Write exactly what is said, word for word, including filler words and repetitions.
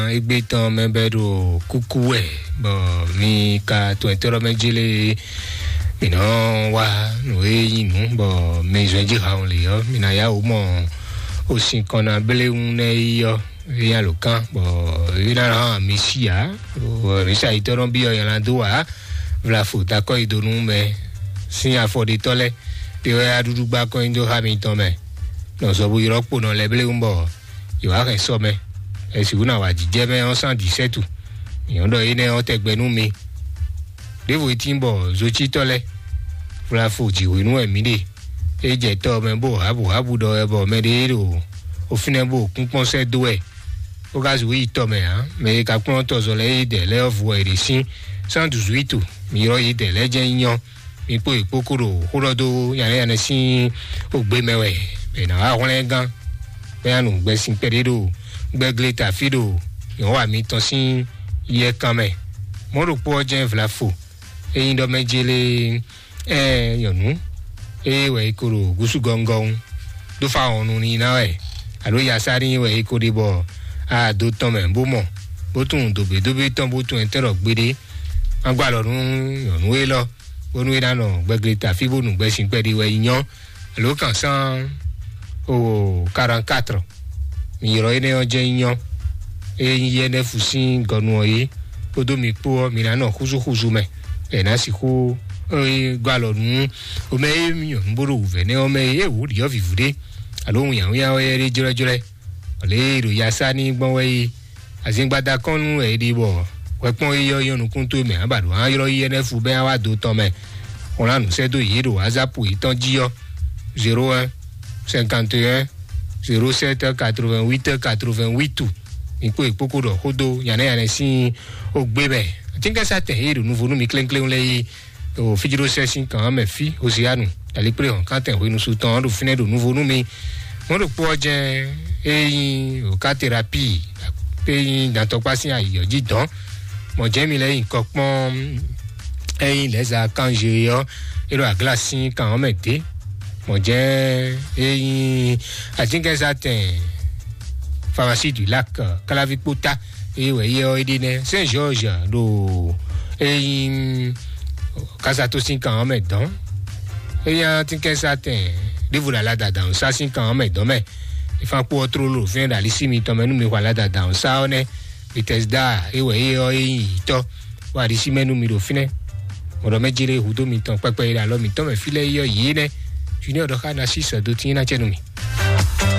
Égbé tɔn mɛ bɛ ɖo kúkú wɛ, bɔ mi ka tɔn ɛtɔ́ mɛ jélé, mi nɔ wá nǔ e nyí nǔ, bɔ mi zɔn jí ha lě ɔ́, mi ná yá wǔ mɔ osin kɔn ná bléwún nɛ yi ɔ́, é nyí alǒkan, bɔ é ná hán mi sí ǎ, bɔ mi sa yi tɔ́ nɔ byɔ́ nylá dó ǎ. Vlafo takɔ yi do nú mɛ sín afɔɖetɔ́ lɛ́ɛ, ɖé wɛ aɖúɖú gbá kɔn nyi dó xá mitɔn mɛ. Nɔ zɔ bo ylɔ́ kpo nɔ lɛ́ bléwún bɔ yǒ wá hɛn sɔ mɛ. Ɛsǐ wú ná wá jijɛ mɛ ɔ́ sán dǐsɛ́tu. Nyɔ̌ ɖɔ énɛ́ ɔ́ tɛgbɛ nú mi. Ɖěvo e tín bɔ zocítɔ́ lɛ́ɛ, vlafo jǐhwenu wɛ mǐ ɖe. É jɛ tɔ mɛ bó hábǔhábǔ ɖɔ wɛ bɔ mɛ ɖé ɖo ofínɛ́ bó kúnkpɔ́n sɛ́ dó wɛ. Bó ka zǔ yi tɔ mɛ ǎ. Mɛ e ka kplɔ́n tɔzɔ́ lɛ́ɛ yi dɛ lɛ́ɛ ɔ́ vo wɛ è ɖe sín. Sán dǔzú yi to. Mi ylɔ́ yi dɛ lɛ́ɛ jɛ́n nyɔ́. Mi kpó yi kpókó ɖo xó ɖɔ dó nyanɛ́yanɛ sín ogbe mɛ wɛ. È nǎ wá hwlɛ́n gán. Bɛ́ nya nǔgbɛ sin kpɛɖé ɖo gbɛgle tafí ɖo nyɔ̌wa mitɔn sín yɛkan mɛ. Mɔ̌ ɖokpó ɔ́ jɛ́n vlafo. Ényí ɖɔ mɛ jélé, ɛ nyɔ̌nu, ée wɛ é ko ɖo gúsú gɔngɔn dó fa wɔn nú ní ná wɛ, alo yasá ní wɛ é ko ɖe bɔ a do tɔn mɛ bó mɔ, bó tunwun dǒbédóbé tɔn bó tunwun ɛtɛ́ ɖɔ gbeɖé. Má gbɔ alɔ nú nyɔ̌nu élɔ́, bónú é ná nɔ gbɛgle tafí bó nu gbɛsin kpɛɖé wɛ yi nyɔ́, alo kan sán o quarante-quatre. Mi ylɔ́ énɛ́ ɔ́ jɛ́n nyí nyɔ́. Ényí yɛ́nɛ́fu sín gɔnu ɔ́ yé, kpódó mi kpó ɔ́, mi ná nɔ xúzúxúzú mɛ, bɔ è nǎ sixú gɔ́ alɔ nú omɛ e mi nyɔ̌nu bó ɖo wǔvɛ́ nɛ́ ɔ́ mɛ é wǔ ɖiɔ́ vǐvú ɖé, alo wunnyǎwunnyá wɛ é ɖé jlɔ́jlɔ́. Lě e ɖo yasá ní gbɔn wɛ é. Azíngbada kɔn nú wɛ é ɖe bɔ hwɛkpɔ́n yíyɔ nyɔ́ nukún towe mɛ, ǎ ba ɖo á ylɔ́ yí énɛ́ fu bɛ́ á wá do tɔn mɛ. Xlán nǔ sɛ́ dó yě ɖo WhatsApp yětɔn jí ɔ́, zéro un cinquante et un zéro sept quatre-vingt-huit quatre-vingt-huit. Mi kpó è kpókó ɖɔ xó dó nyanɛ́yanɛ sín ogbe mɛ. Atínkɛ́sátɛn e ɖo nuvo nú mi klénkléwún lɛ́ɛ yí o fíjlósɛ́ sín kan ɔ́ mɛ fí Hosianu, Dalikplé hɔn kántɛn hwenusu tɔn ɔ́ ɖo fínɛ́ ɖo nuvo nú mi. Mɔ̌ ɖokpó ɔ́ jɛ́n é nyí o ká terapi, é nyí dantɔkpá sín ayǐ ɔ́ jí dɔn. Mɔ̌ jɛ́n mi lɛ́ nyi kɔ kpɔ́n é nyí lɛ̌za kanzé ɔ́, é ɖo agla sín kan ɔ́ mɛ dě. Mɔ̌ jɛ́n é nyí atínkɛ́sátɛn Pharmacie du Lac, Kalavi kpóta, eye wɛ yɛ ɔ́ é ɖe nɛ́. Saint George ɖo é nyí kasato sín kan ɔ́ mɛ dɔn. É nyí atínkɛ́sátɛn ɖěvo ɖo aladadan sá sín kan ɔ́ mɛ dɔn mɛ. Ìfán kpó ɔ́ tlóló ɖo fínɛ́ ɖo alisí mitɔn mɛ nú mi xɔ aladadan sá ɔ́ nɛ́. Bethesda é wɛ é ɔ́ é nyí yǐtɔ́, bɔ alisí mɛ nú mi ɖo fínɛ́. Mɔɖɔ mɛ jélé hudó mitɔn kpɛkpɛ yi ɖo alɔ mitɔn mɛ fí lɛ́ɛ yí ɔ́ yě nɛ́. Junior ɖɔ xá ná sí sɔ̌ dó tín ná cɛ nú mi.